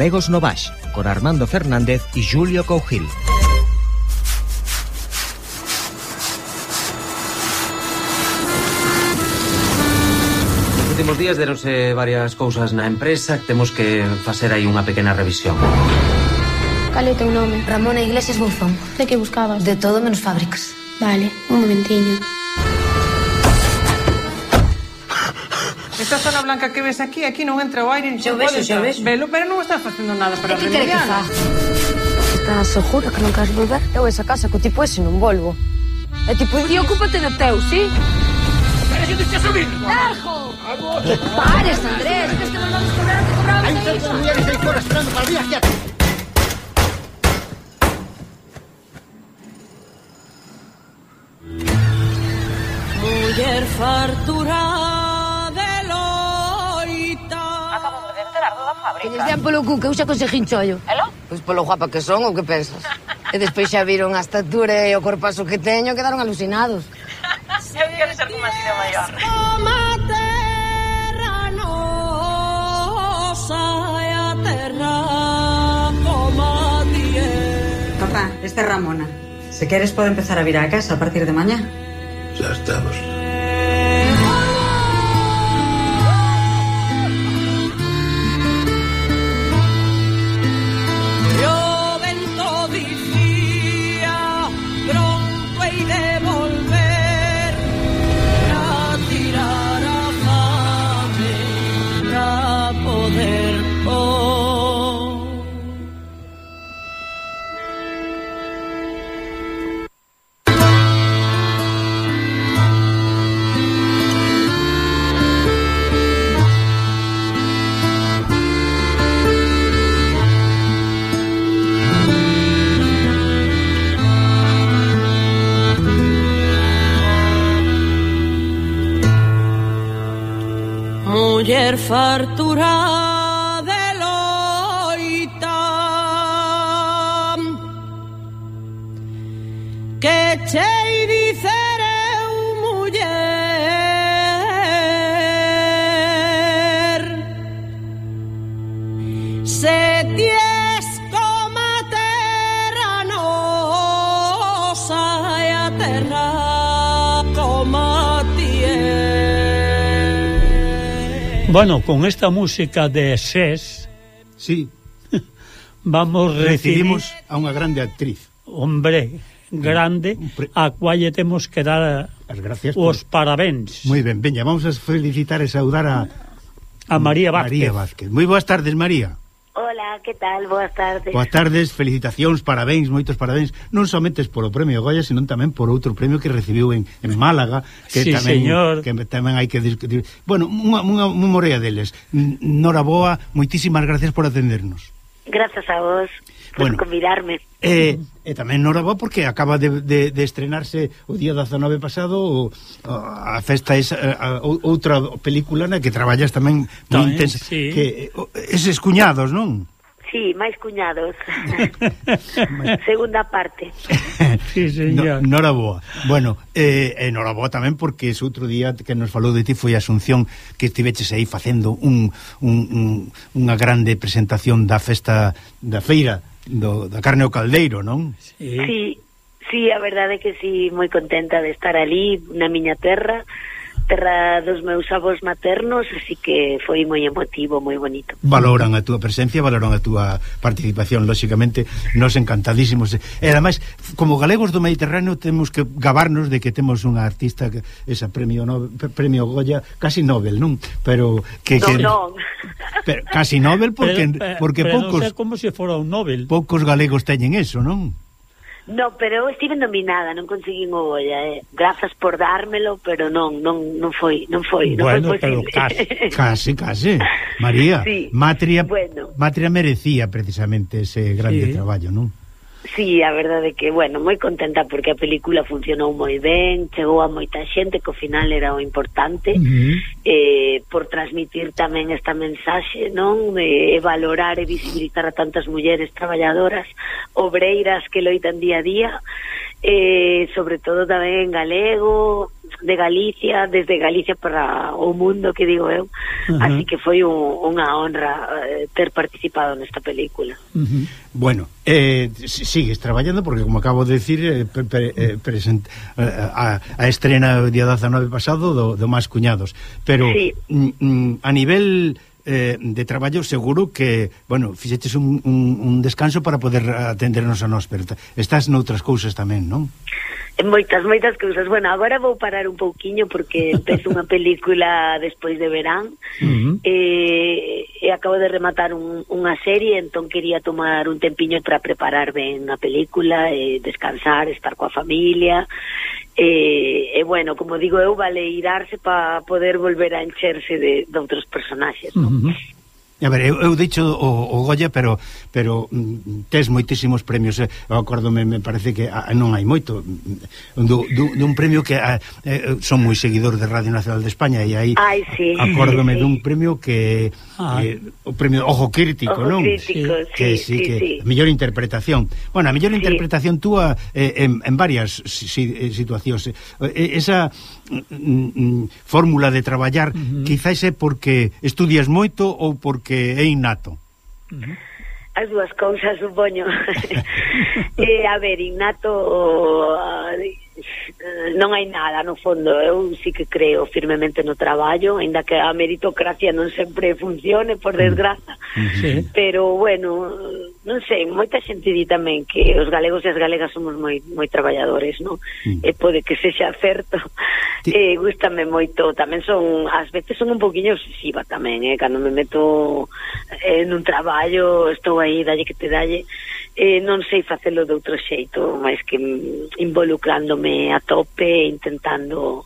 Galegos no Baix, con Armando Fernández e Julio Cougil. Nos últimos días deronse varias cousas na empresa que temos que facer aí unha pequena revisión. Cal é o teu nome? Ramona Iglesias Bouzón. De que buscabas? De todo menos fábricas. Vale, un momentiño. Esta zona blanca que ves aquí non entra o aire. Xa ves. Velo, pero non estás facendo nada para remediar. Que quere que fa? Estás segura que non queres volver? Eu esa casa co tipo ese non volvo. É tipo, e ocúpate do teu, sí? Pero que te estás subindo? Dejo! Pares, Andrés, que este mandamos cobrar o que cobramos. Hai tantas mulleres aí fora esperando para vir aquí a... Muller fartura de loita. Acabamos de enterar da fábrica. Que lles den polo cu, que eu xa consegui chollo. Elo? Pois polo guapa que son, ou que pensas? E despois xa viron a estatura e o corpazo que teño, quedaron alucinados. Eu quero ser como así de maior. Toma terra nosa e a terra como a ti é. Papá, esta é Ramona. Se queres pode empezar a vir a casa a partir de mañá. Ya estamos. O vento dicía pronto hei de volver a tirar a fame pra poder muller fartura de loita que chei dicer eu muller se ties como a terra nosa e a terra como a ti é. Bueno, con esta música de SES, sí, vamos recibimos a unha grande actriz. Hombre, grande, a cual lle temos que dar as gracias os parabéns. Moi ben, veña, vamos a felicitar e saudar a María Vázquez. María Vázquez. Moi boas tardes, María. Hola, que tal? Boas tardes. Boas tardes, felicitacións, parabéns, moitos parabéns, non somente por o premio Goya, senón tamén por outro premio que recibiu en Málaga, que sí, tamén señor. Que tamén hai que discutir. Bueno, unha morea deles. Nora Boa, moitísimas gracias por atendernos. Grazas a vos por convidarme. E tamén Nora Boa porque acaba de estrenarse o día 19 pasado a festa outra película na que traballas tamén moi intensa, sí. Que eses cuñados, non? Sí, máis cuñados. Segunda parte. Sí, señor. Nora Boa. Bueno, Nora Boa tamén porque ese outro día que nos falou de ti foi Asunción, que estiveches aí facendo unha grande presentación da festa da feira da carne ao caldeiro, non? Sí, a verdade é que sí, moi contenta de estar ali na miña terra dos meus avós maternos, así que foi moi emotivo, moi bonito. Valoran a túa presencia, valoran a túa participación, lóxicamente, nos encantadísimos. E ademais, como galegos do Mediterráneo, temos que gabarnos de que temos unha artista esa premio Goya, casi Nobel, non? Pero non. Pero casi Nobel porque pero poucos, non sei como se fora un Nobel. Poucos galegos teñen eso, non? No, pero eu estive nominada, non conseguín o Goya, grazas por dármelo, pero non foi Bueno, pero casi, María, sí, Matria merecía precisamente ese grande traballo, non? Sí, a verdade é que, moi contenta porque a película funcionou moi ben, chegou a moita xente, que ao final era o importante, por transmitir tamén esta mensaxe, non? De valorar e visibilizar a tantas mulleres traballadoras, obreiras que loitan día a día, sobre todo tamén en galego, de Galicia, desde Galicia para o mundo, que digo eu. Así que foi unha honra ter participado nesta película. Bueno, sigues traballando porque, como acabo de decir, a estrena o día 19 pasado do Más Cuñados, pero sí. A nivel de traballo seguro que, bueno, fixeches un descanso para poder atendernos a nós, pero estás noutras cousas tamén, non? Moitas cousas. Bueno, agora vou parar un pouquiño porque empezo unha película despois de verán, e acabo de rematar unha serie, entón quería tomar un tempiño para preparar ben a película, descansar, estar coa familia, e bueno, como digo eu, valeirarse para poder volver a encherse de outros personaxes, non? A ver, eu dicho o Goya, pero tes moitísimos premios. Eu acórdome, me parece que non hai moito dun premio que son moi seguidor de Radio Nacional de España, e aí sí, acórdome dun premio que o premio Ojo Crítico, non? Crítico, que mellor interpretación. Bueno, a mellor interpretación túa en varias situacións. Esa fórmula de traballar quizás é porque estudias moito ou porque é innato. As dúas cousas, supoño. A ver, innato non hai nada, no fondo. Eu sí que creo firmemente no traballo, aínda que a meritocracia non sempre funcione, por desgraza. Pero, bueno, non sei, moita xente di tamén que os galegos e as galegas somos moi traballadores, non? E pode que sexa certo. Gústame moito, tamén ás veces son un poquinho obsesiva tamén, cando me meto nun traballo, estou aí, dalle que te dalle, non sei facelo de outro xeito, máis que involucrándome a tope, intentando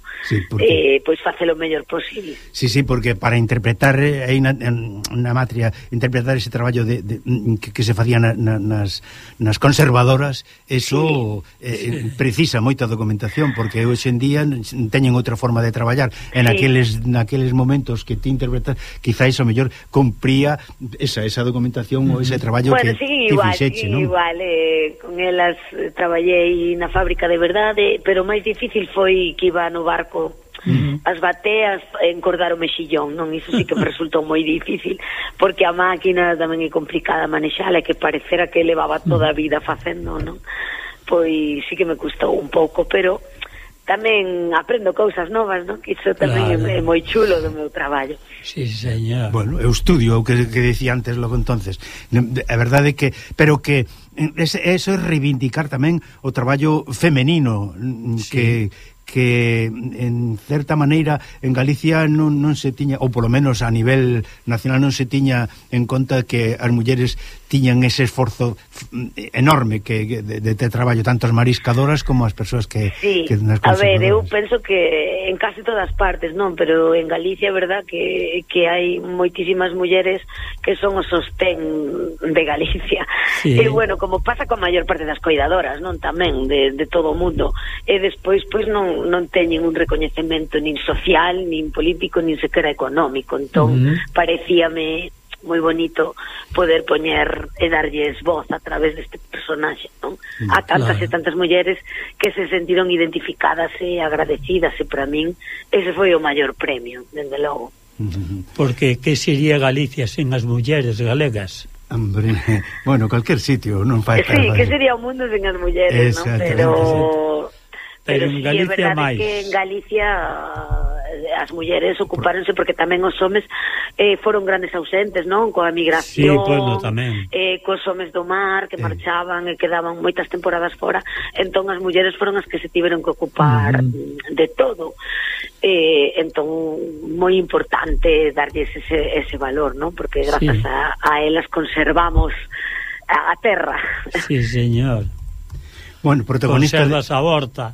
pois facelo o mellor posible. Sí, porque para interpretar aí na Matria, interpretar ese traballo que se facía nas conservadoras, eso precisa moita documentación, porque hoxe en día teñen outra forma de traballar, e naqueles momentos que ti interpretas, quizás o mellor cumpría esa documentación ou ese traballo que fixeche, non? Igual, con elas traballei na fábrica de verdade, pero o máis difícil foi que iba no barco as bateas, encordar o mexillón, non? Iso sí que me resultou moi difícil, porque a máquina tamén é complicada manexala, e que parecera que levaba toda a vida facendo, non? Pois sí que me custou un pouco, pero tamén aprendo cousas novas, non? Que iso tamén é moi chulo do meu traballo. Sí, señor. Bueno, eu estudio o que decía antes logo entonces. É verdade que, pero que eso é reivindicar tamén o traballo femenino, que en certa maneira en Galicia non se tiña, ou polo menos a nivel nacional non se tiña en conta que as mulleres tiñan ese esforzo enorme de traballo, tanto as mariscadoras como as persoas que nas conservadoras. A ver, eu penso que en casi todas partes, non, pero en Galicia é verdad que hai moitísimas mulleres que son o sostén de Galicia. E bueno, como pasa coa maior parte das coidadoras, non, tamén de todo o mundo. E despois pois non teñen un recoñecemento nin social, nin político, nin sequera económico. Entón, parecíame moi bonito poder poñer e darlles voz a través deste personaxe, non? A tantas e tantas mulleres que se sentiron identificadas e agradecidas, e para min ese foi o maior premio, dende logo. Porque que sería Galicia sen as mulleres galegas? Hombre, bueno, calquer sitio non fai. Sí, que sería o mundo sen as mulleres, non? Pero en Galicia máis. Que en Galicia as mulleres ocupáronse, porque tamén os homes foron grandes ausentes, non? Coa migración, cos homes do mar que marchaban e quedaban moitas temporadas fora, entón as mulleres foron as que se tiveron que ocupar de todo. Entón, moi importante darlles ese valor, non? Porque grazas a elas conservamos a terra. Sí, señor. Bueno, protagonista conservas a horta.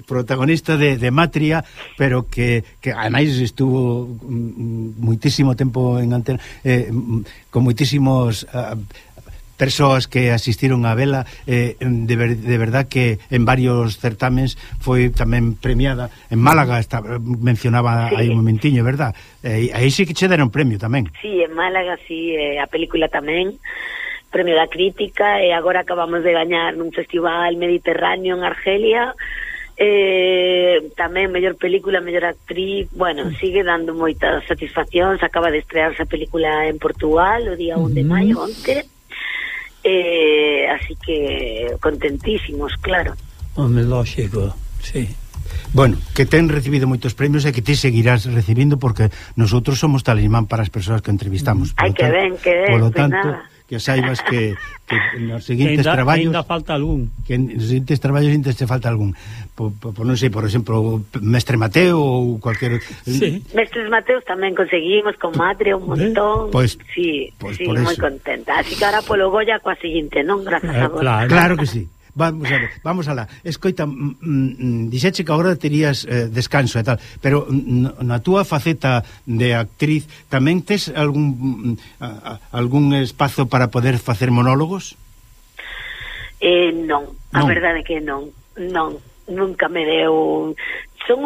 Protagonista de Matria, pero que ademais estuvo moitísimo tempo en antena, con moitísimos persoas que asistiron a vela, de verdad que en varios certámenes foi tamén premiada. En Málaga mencionaba aí un momentiño, verdad? Aí sí que che deron premio tamén. Sí, en Málaga sí, a película tamén. premio da crítica, e agora acabamos de gañar nun festival mediterráneo en Argelia, tamén mellor película, mellor actriz. Bueno, sigue dando moitas satisfaccións. Acaba de estrearse a película en Portugal o día 1 de maio, onte, así que contentísimos, claro. Home, lógico, sí. Bueno, que ten recibido moitos premios e que ti seguirás recibindo, porque nosotros somos talismán para as persoas que entrevistamos. Ai, que ben, polo pues tanto, nada. que saibas que nos seguintes traballos ainda falta algún, que nos seguintes traballos ainda te falta algún, non sei, por exemplo, Mestre Mateo ou cualquier... sí. Mestres Mateos tamén conseguimos con Madre un montón. Pois, sí, pois sí, por moi eso. contenta. Así que ahora polo Goya coa seguinte, non? Grazas a vos. Claro que sí. Vamos a ver, vamos alá. Escoita, dixeche que agora terías descanso e tal, pero na túa faceta de actriz tamén tes algún espazo para poder facer monólogos? Non, a verdade que non, nunca me deu. Son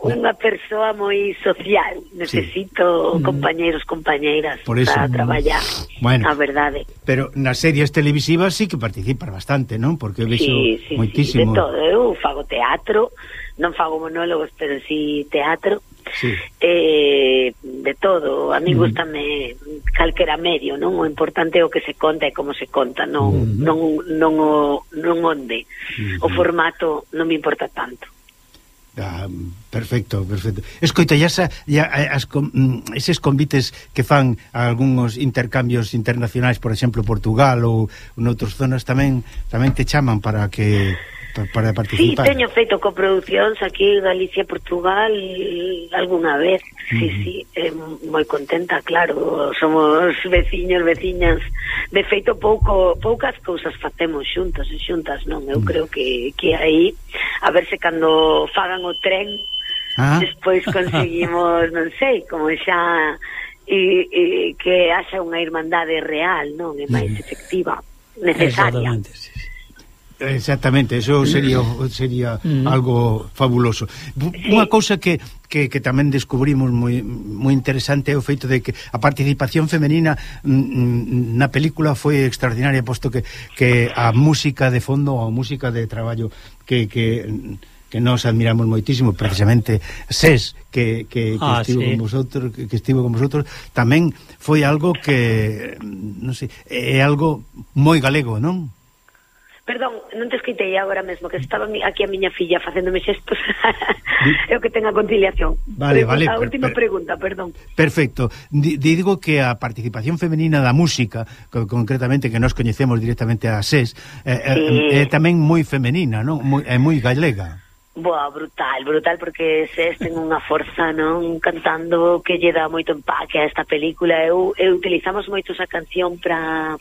unha persoa moi social, necesito compañeiros, compañeiras para traballar, bueno, a verdade. Pero nas series televisivas sí que participas bastante, non? Porque vexo moitísimo. Sí, de todo, eu fago teatro, non fago monólogos, pero sí teatro. Sí. De todo, a mí gustame calquera medio, non? O importante é o que se conta e como se conta, non onde. O formato non me importa tanto. Perfecto. Escoita, eses convites que fan a algúns intercambios internacionais, por exemplo, Portugal ou noutras zonas, tamén te chaman para participar. Sí, teño feito coproducións aquí, Galicia, Portugal, algunha vez. Sí, moi contenta, claro. Somos veciñas. De feito, poucas cousas facemos xuntas, non? Eu creo que aí, a ver se cando fagan o tren, despois conseguimos, non sei, como xa que haxa unha irmandade real, non? É máis efectiva, necesaria. Exactamente, eso sería algo fabuloso. Unha cousa que tamén descubrimos moi interesante é o feito de que a participación femenina na película foi extraordinaria, posto que a música de fondo, a música de traballo que nos admiramos moitísimo, precisamente SES que estivo con vosotros, tamén foi algo que non sei, é algo moi galego, non? Perdón, non te escoitei agora mesmo, que estaba aquí a miña filla facéndome xestos. Eu que tenga conciliación. Vale. A última pregunta, perdón. Perfecto. Digo que a participación femenina da música, concretamente que nos coñecemos directamente a SES, é tamén moi femenina, non? É moi galega. Boa, brutal, porque SES ten unha forza, non, cantando, que lle dá moito empaque a esta película. Utilizamos moito esa canción para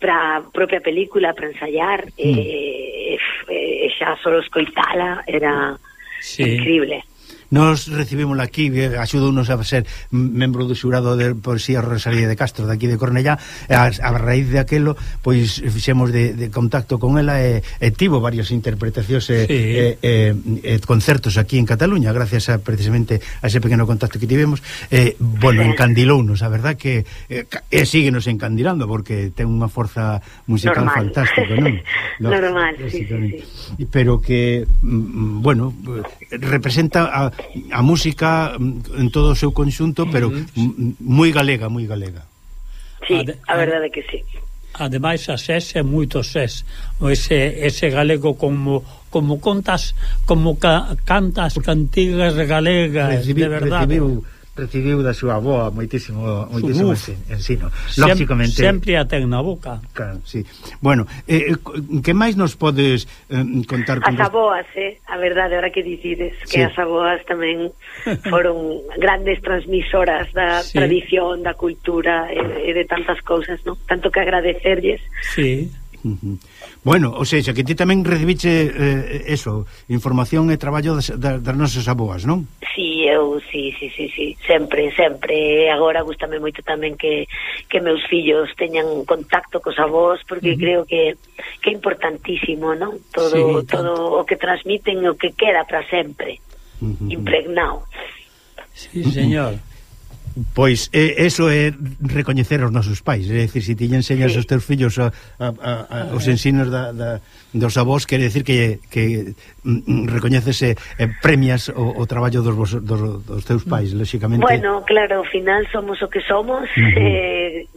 a propia película, para ensayar, xa solo escoitala era increíble. Nos recibimos aquí, axudounos a ser membro do xurado de Poesía Rosalía de Castro, daqui de Cornellá. A raíz de aquelo, pois fixemos de contacto con ela e tivo varias interpretacións e concertos aquí en Cataluña, gracias precisamente a ese pequeno contacto que tivemos. Bueno, encandilounos, a verdad que síguenos encandilando, porque ten unha forza musical fantástica, non? Normal, sí. Pero que, bueno, representa a música en todo o seu conxunto, pero moi galega. Sí, a verdade que sí. Ademais, a SES é moito SES. Ese galego como contas, como cantas cantigas galegas, de verdade. Recibiu da súa avoa moitísimo ensino. Lógicamente sempre a ten na boca. Claro, sí. Bueno, que máis nos podes contar con as avoas, a verdade, ahora que dicides que as avoas tamén foron grandes transmisoras da tradición, da cultura e de tantas cousas, non? Tanto que agradecerlles. Sí. Bueno, ou seja, que ti tamén recibiche información e traballo das nosas aboas, non? Sí, sempre. Agora gústame moito tamén que meus fillos teñan contacto cos avós, porque creo que é importantísimo, non? Todo o que transmiten, o que queda para sempre, impregnado. Sí, señor. Pois eso é recoñecer os nosos pais, é dicir, se ti lle enseñas aos teus fillos os ensinos dos avós, quere dicir que recoñeces premias o traballo dos teus pais, lóxicamente. Bueno, claro, ao final somos o que somos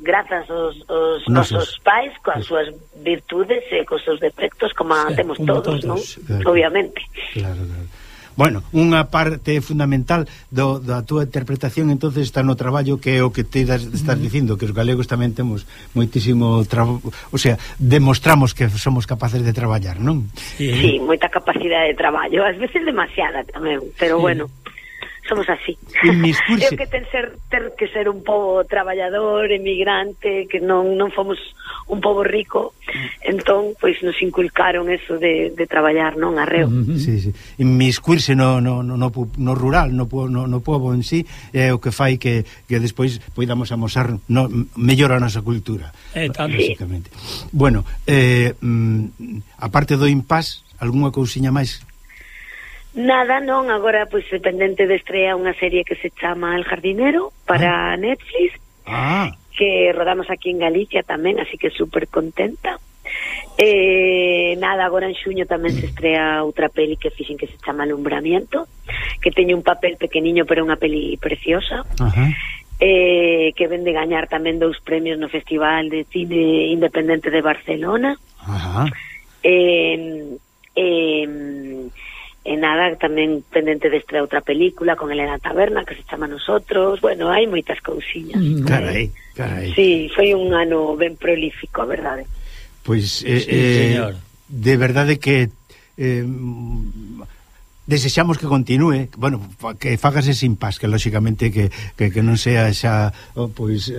grazas aos nosos pais, coas súas virtudes e cos seus defectos, como temos todos, non? Obviamente. Claro. Bueno, unha parte fundamental da túa interpretación entonces está no traballo, que é o que te estás dicindo, que os galegos tamén temos moitísimo o sea, demostramos que somos capaces de traballar, non? Sí, moita capacidade de traballo, ás veces demasiada tamén, pero bueno, somos así. Creo que ter que ser un pobo traballador, emigrante, que non fomos un pobo rico, entón, pois nos inculcaron eso de traballar, non, arreo. Sí. Inmiscuirse no rural, no pobo en sí, é o que fai que despois poidamos amosar mellor a nosa cultura, basicamente. Bueno, aparte do Impás, algunha cousiña máis? Nada, non, agora pois dependente de estrea unha serie que se chama El Jardinero para Netflix, que rodamos aquí en Galicia tamén, así que super contenta. Nada, agora en xuño tamén se estrea outra peli que fixen que se chama Alumbramiento, que teñe un papel pequeniño pero unha peli preciosa. Que ven de gañar tamén 2 premios no Festival de Cine Independente de Barcelona. E nada, tamén pendente de estrear outra película con Elena Taberna que se chama Nosotros. Bueno, hai moitas cousiñas. Carai. Sí, foi un ano ben prolífico, a verdade. Pois, señor, de verdade que desexamos que continúe, bueno, que fagas ese Impás, que lóxicamente que non sea xa pois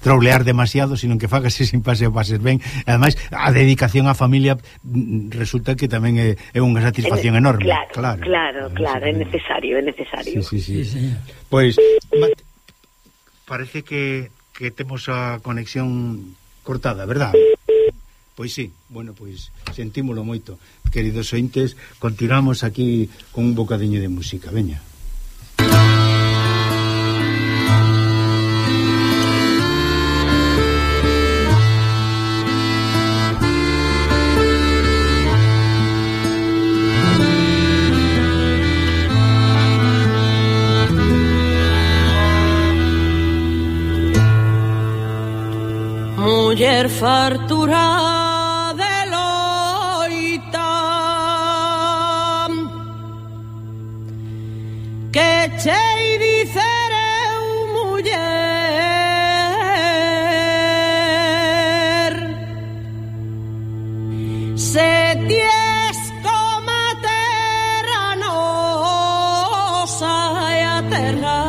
troulear demasiado, sino que fagas ese Impás e o pases ben. Ademais, a dedicación á familia resulta que tamén é unha satisfacción enorme. Claro, é necesario. Sí. Pois parece que temos a conexión cortada, verdad? Pois sí, bueno, pois sentímolo moito. Queridos ointes, continuamos aquí con un bocadiño de música, veña. Muller fartura de loita que chei dicer eu muller se ties como a terra nosa e a terra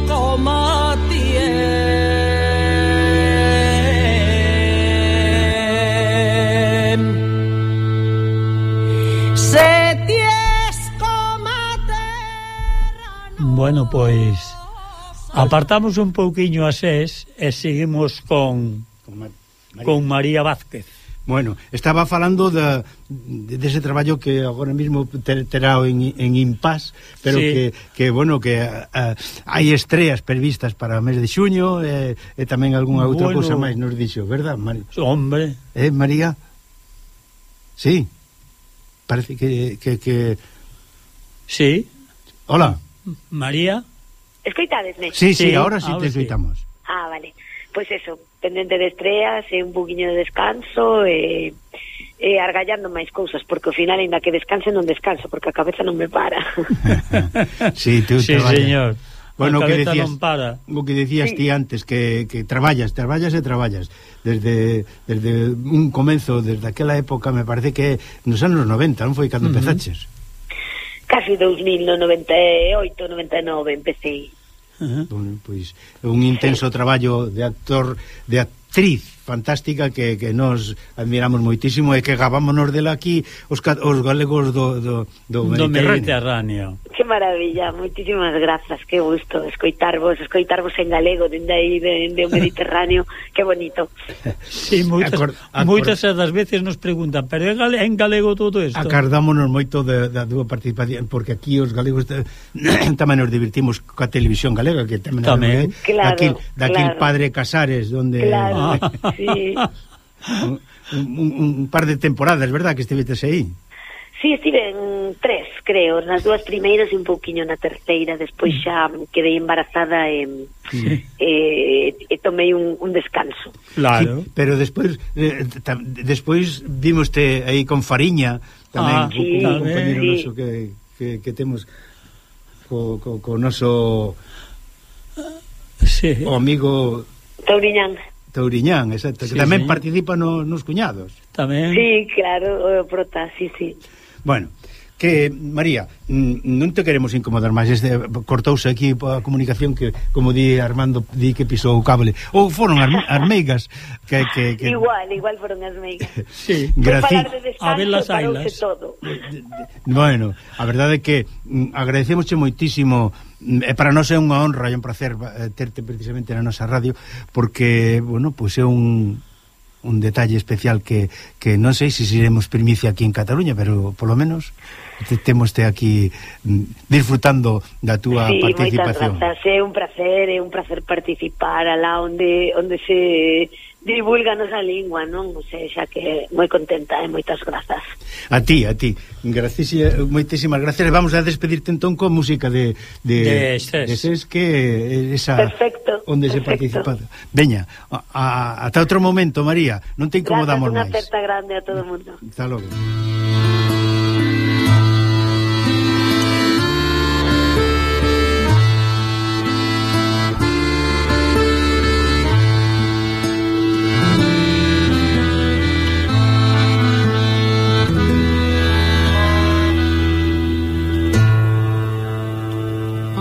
como a tier. Bueno, pois apartamos un pouquiño a SES e seguimos con María Vázquez. Bueno, estaba falando dese traballo que agora mesmo terá en Impás, pero sí, que bueno, que hai estreas previstas para o mes de xuño e tamén algunha outra cousa máis nos dixo, verdad, María? Hombre. María? Sí. Parece que... Sí. Hola. María. Escoitadesme? Sí, ahora sí te escoitamos. Vale. Pois eso, pendente de estreas e un poquinho de descanso e argallando máis cousas, porque ao final, ainda que descanse, non descanso, porque a cabeza non me para. Sí, tú sí, señor. Bueno, o que decías, non para. O que decías ti antes, que traballas desde un comenzo, desde aquela época, me parece que nos anos 90, non foi cando empezaches? Casi 2000, no 98, 99 empecé. Bueno, pois un intenso traballo de actor, de actriz fantástica que nos admiramos moitísimo e que gavámonos dela aquí os galegos do Mediterráneo. Que maravilla, moitísimas grazas, que gusto escoitarvos en galego dende aí dende o Mediterráneo, que bonito. Sí, moitas das veces nos preguntan, pero en galego todo isto? Acordámonos moito da túa participación, porque aquí os galegos tamén nos divertimos coa televisión galega, que tamén claro, daquil Padre Casares, donde sí. un par de temporadas, verdad, que estivetes aí? Sí, estiven 3, creo, nas 2 primeiras e un pouquiño na terceira, despois xa quedei embarazada e tomei un descanso. Claro. Sí, pero despois vimoste aí con Fariña, tamén, un compañero noso que temos co noso o amigo Touriñán, exacto, que tamén participa nos cuñados. Tamén. Sí, claro, o prota, sí. Bueno, que, María, non te queremos incomodar máis, cortouse aquí a comunicación que, como di Armando, di que pisou o cable, ou foron as meigas que... Igual foron as meigas. Sí, falar de descanso, parouse todo. Bueno, a verdade é que agradecemosche moitísimo, e para nós é unha honra e un placer terte precisamente na nosa radio, porque, bueno, pois é un detalle especial que non sei se iremos primicia aquí en Cataluña, pero polo menos temoste aquí disfrutando da túa participación. Moitas grazas, é un placer participar alá onde se divulga nosa lingua, non? O sea, xa que moi contenta e moitas grazas. A ti, moitísimas gracias. Vamos a despedirte entón con música de SES, que esa perfecto, onde se participa. Veña, ata outro momento, María, non te incomodamos máis. Unha aperta grande a todo o mundo. Hasta logo.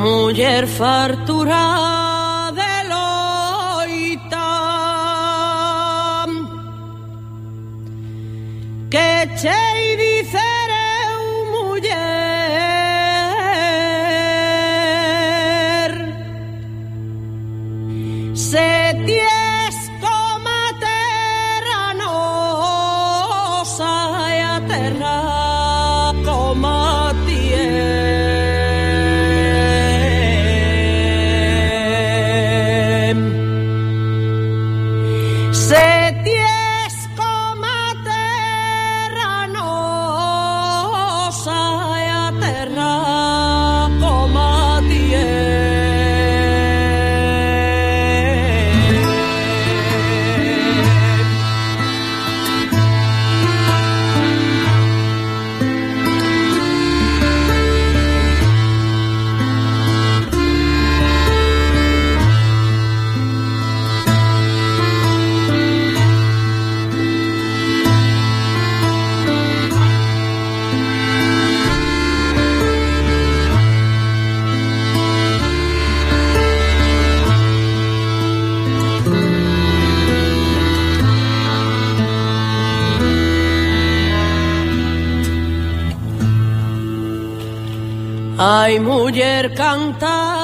Muller fartura de loita que chei dicereu muller se ties como a terra nosa e a terra como a tier. Ai, muller canta